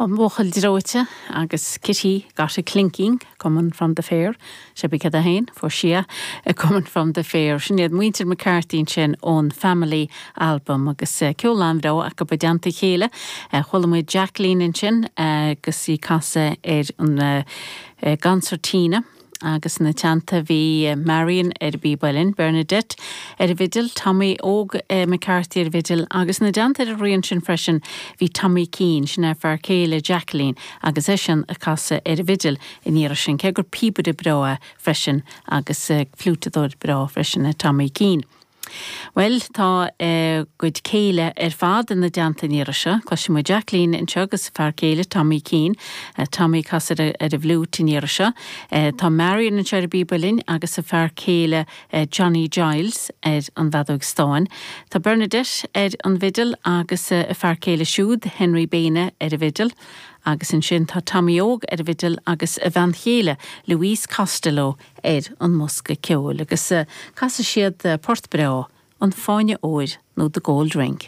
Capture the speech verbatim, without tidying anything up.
An Buachaill Dreoite agus Kitty got a clinking coming from the fair sé bí cad a hain fuair sí a coming from the fair sin iad muintir McCarthy sin ón Family album agus eh, ceol an-bhreá acu i dteannta chéile chuala muid Jacqueline ansin agus í ag casadh ar an eh, gconsairtín agus ina teannta bhí Marion ar an bpíb uilleann, Bernadette ar an bhfidil, Tommy Óg eh, McCarthy ar an bhfidil agus ina dteannta ar an rian sin freisin bhí Tommy Keane sin é fear céile Jacqueline agus eisean ag casadh ar an bhfidil an iarraidh sin cé gur píobaire breá freisin agus eh, fliútadóir breá freisin é Tommy Keane. Well tá eh, gcuid céile ar fad ina dteannta an iarraidh seo, Cloisim Jacqueline anseo agus fear céile Tommy Keane, uh, Tommy ag casadh ar an bhfliúit an iarraidh seo. Uh, tá Marion anseo ar an bpíob uilleann agus a fear céile uh, Johnny Giles ar an bhfeadóg stáin. Tá Bernadette ar an bhfidil agus uh, a fear céile siúd Henry Baine ar an bhfidil. agus ansin tá Tommy Óg ar an bhfidil agus a bhean chéile Louise Costello ar an mbosca ceoil agus uh, casfaidh siad uh, port breá an Fáinne Óir nó the Gold Ring.